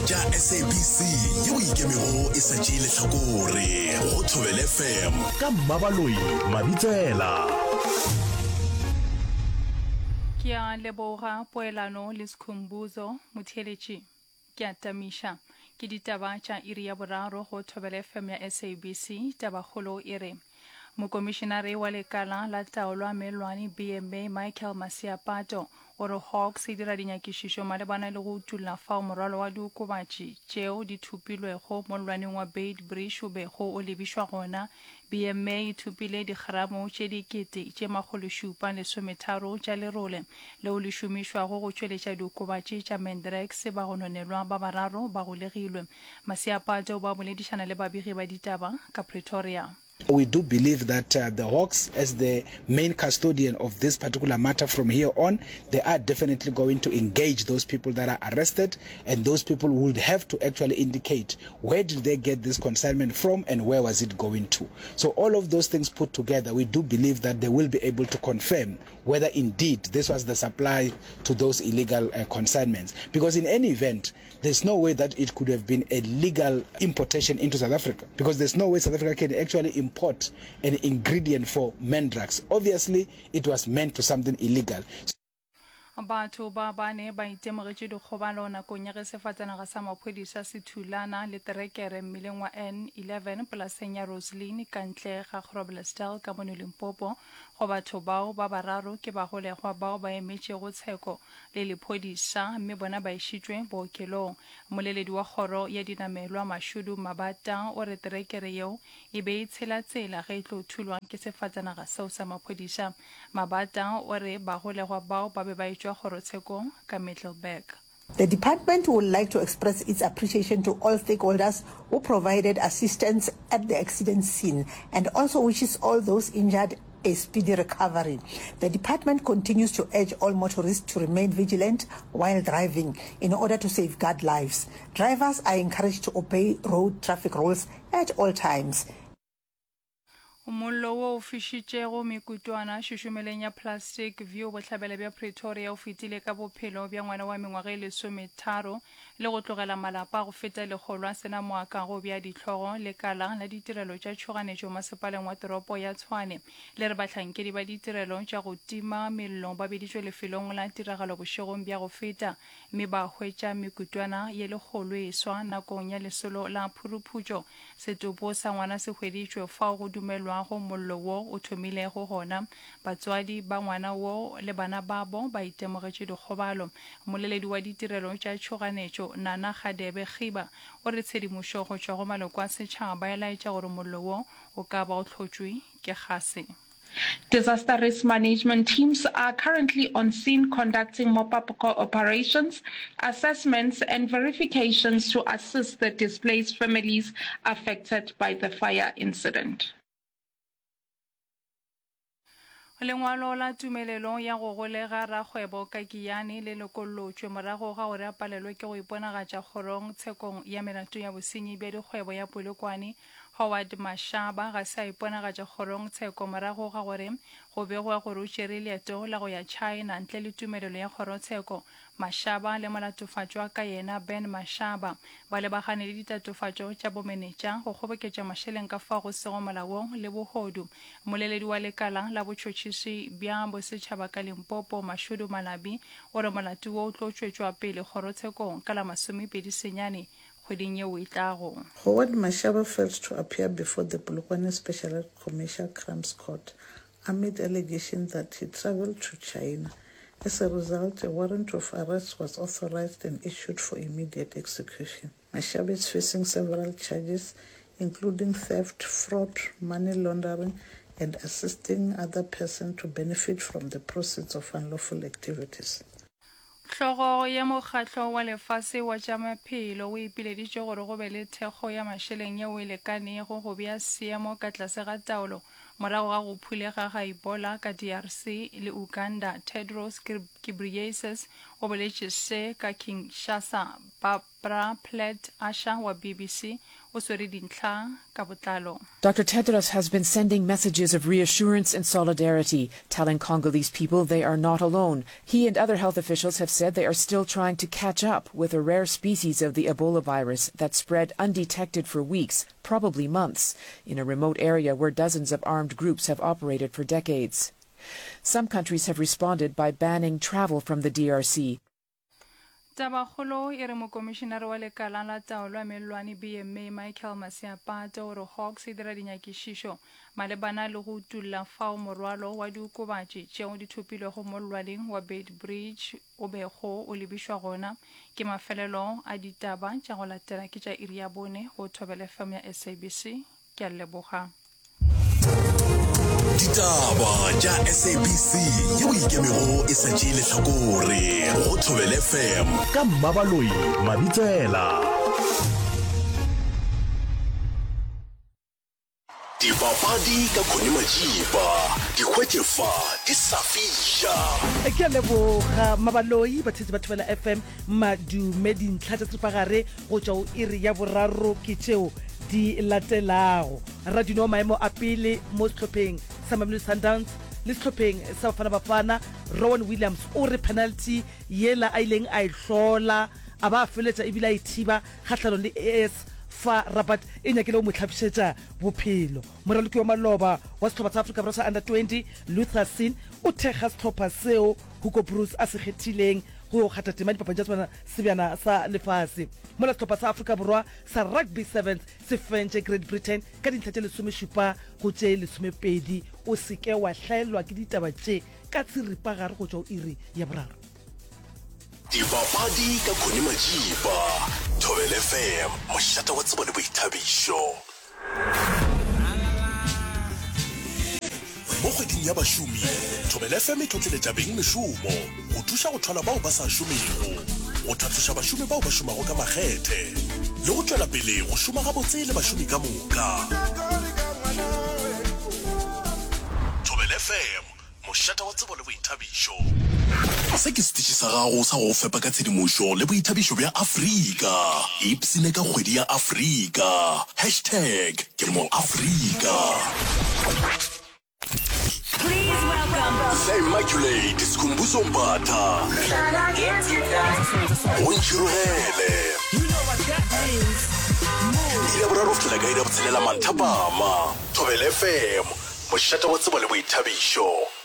tša SABC yeo ikemego e sa tšee lehlakore go Thobela FM ka Mmabaloi Mabitsela. Ke a leboga poelano le Skhumbuzo motheeletši. Ke a tamiša. Ke ditaba tša iri ya boraro go Thobela FM ya SABC. Tabakgolo e re Mokomišenare wa Lekala la Taolo ya Mellwane, BMA, Michael Masiapato, o re Hawks e dira dinyakišišo malebana le go utulla fao morwalo wa diokobatši tšeo di thopilwego mollwaneng wa Beitbridge o bego o lebišwa gona. BMA e thopile digramo tše dikete tše 730 tša lerole leo le šomišwago go tšweletša diokobatši tša Mandrax. Bagononelwa ba bararo ba golegilwe. Masiapato o ba boledišana le babegi ba ditaba ka Pretoria. We do believe that the Hawks as the main custodian of this particular matter from here on, they are definitely going to engage those people that are arrested and those people would have to actually indicate where did they get this consignment from and where was it going to. So all of those things put together, we do believe that they will be able to confirm whether indeed this was the supply to those illegal uh, consignments. Because in any event, There's no way that it could have been a legal importation into South Africa because there's no way South Africa can actually import an ingredient for mandrax. Obviously, it was meant to something illegal. Batho ba bane ba itemogetše dikgobalo nakong ya ge sefatanaga sa maphodisa se thulana le terekere mmileng wa N11 polaseng ya Roseline ka ntle ga Groblersdal ka mono Limpopo. Go batho bao ba bararo ke bagolegwa bao ba emetšego tsheko le lephodisa mme bona ba išitšwe bookelong. Mmoleledi wa kgoro ya dinamelwa Mashudu Mabata o re terekere yeo e be e tshela tsela ge e tlo thulwa ke sefatanaga seo sa maphodisa. Mabata o re bagolegwa bao ba be ba etšwa kgorotshekong ka Middelburg. The department would like to express its appreciation to all stakeholders who provided assistance at the accident scene and also wishes all those injured a speedy recovery. The department continues to urge all motorists to remain vigilant while driving in order to safeguard lives. Drivers are encouraged to obey road traffic rules at all times. Mollo wo o fišitšego mekutwana šošomeleng ya Plastic View bohlabela bja Pretoria o fetile ka bophelo bja ngwana wa mengwaga e lesometharo le go tlogela malapa a go feta lekgolo a se na moakago bja dihlogo. Lekala la ditirelo tša tšhoganetšo masepaleng wa toropo ya Tshwane le re bahlankedi ba ditirelo tša go tima mello ba biditšwe lefelong la tiragalo bošegong bja go feta mme ba hwetša mekutwana ye lekgolo e swa nakong ya lesolo la phuruphutšo. Setopo sa ngwana se hweditšwe fao go dumelwago mollo wo o thomilego gona. Batswadi ba ngwana wo le bana babo ba itemogetše dikgobalo. Mmoleledi wa ditirelo tša tšhoganetšo, Nana Kgadebe Khiba, o re tshedimošo go tšwa go maloko a setšhaba e laetša gore mollo wo o ka ba o hlotšwe ke gase. Disaster risk management teams are currently on scene conducting mop-up operations, assessments and verifications to assist the displaced families affected by the fire incident. Lengwalo la tumelelo ya go golega rakgwebo Kakiyane le lokollotšwe morago ga gore a palelwe ke go iponagatša kgorong tshekong ya melato ya bosenyi bja dikgwebo ya Polokwane. Howard Mashaba ga se a iponagatša kgorong tsheko morago ga gore go begwe gore o tšere leeto la go ya China ntle le tumelelo ya kgorotsheko. Mashaba le molatofatšwa ka yena Ben Mashaba ba lebagane le ditatofatšo tša bomenetša, go kgoboketša mašeleng ka fao go sego molaong le bohodu. Mmoleledi wa lekala la botšhotšhisi bja bosetšhaba ka Limpopo, Mashudu Malabi, o re molato wo o tlo tšwetšwa pele kgorotshekong ka la masomepedi senyane kgweding yeo e tlago. Howard Mashaba failed to appear before the Polokwane Special Commercial Crimes Court amid allegations that he traveled to China. As a result, a warrant of arrest was authorized and issued for immediate execution. Mashaba is facing several charges, including theft, fraud, money laundering, and assisting other person to benefit from the proceeds of unlawful activities. Hlogo ya Mokgatlo wa Lefase wa tša Maphelo o ipileditše gore go be le thekgo ya mašeleng yeo e lekanego go bea seemo ka tlase ga taolo morago ga go phulega ga Ebola ka DRC le Uganda. Tedros Ghebreyesus o boletše se ka Kinshasa. Barbara Plett Usher wa BBC O swere dintlha ka botlalo. Dr. Tedros has been sending messages of reassurance and solidarity, telling Congolese people they are not alone. He and other health officials have said they are still trying to catch up with a rare species of the Ebola virus that spread undetected for weeks, probably months, in a remote area where dozens of armed groups have operated for decades. Some countries have responded by banning travel from the DRC. Tabakgolo e re Mokomišinare wa Lekala la Taolo ya Mellwane, BMA, Michael Masiapate o re Hawks e dira dinyakišišo malebana le go utulla fao morwalo wa diokobatši tšeo di thopilwego mollwaneng wa Beitbridge o bego o lebišwa gona. Ke mafelelo a ditaba tša go latela ke tša iri ya bone go Thobela FM ya SABC. Ke a leboga. Ditaba tša SABC yeo ikemego e sa tšee lehlakore go Thobela FM ka Mmabaloi Mabitsela. Dipapadi ka Connie Majiba, di hwetše fa di sa fiša. Ke a leboga Mmabaloi, batheetši ba Thobela FM, madume. Dintlha tša seripagare go tšwa go iri ya boraro ke tšeo di latelago. Radino wa maemo a pele mo sehlopheng sa Mamelodi Sundowns le sehlopheng sa Bafana Bafana, Rowan Williams o re penalty yela a ileng a e hlola a ba a feletša ebile a e thiba kgahlanong le AS FAR Rabat e nyakile go mo hlapišetša bophelo. Moraloki wa maloba wa sehlopha sa Afrika Borwa sa Under 20, Luther Singh o thekga sehlopha seo Hugo Broos a se kgethileng go yo kgatha tema dipapading tša Sebjana sa Lefase. Mola sehlopha sa Afrika Borwa sa Rugby Sevens se fentše Great Britain ka dintlha tše lesomešupa go tše lesomepedi. O se ke wa hlaelwa ke ditaba tše ka tshiripagare go tšwa go iri ya boraro. Dipapadi ka Connie Majiba, Thobela FM, mošate wa tsebo le boithabišo. Mo kgweding ya bašomi, Thobela FM e tlotleletša beng mešomo go thuša go thwala bao ba sa šomego, go tlhatloša bašomi bao ba šomago ka makgethe le go tšwela pele go šoma gabotse le bašomi ka moka. Thobela FM, Mošate wa tsebo le boithabišo. Se ke setiši sa gago sa go go fepa ka tshedimošo le boithabišo bja Afrika. Ipshine ka kgwedi ya Afrika. Hashtag ke mo Afrika. The Immaculate Skhumbuzo Mbatha. Go ntšhirogele. Iri ya boraro go fihlela ka iri ya botshelela manthapama. Thobela FM, mošate wa tsebo le boithabišo.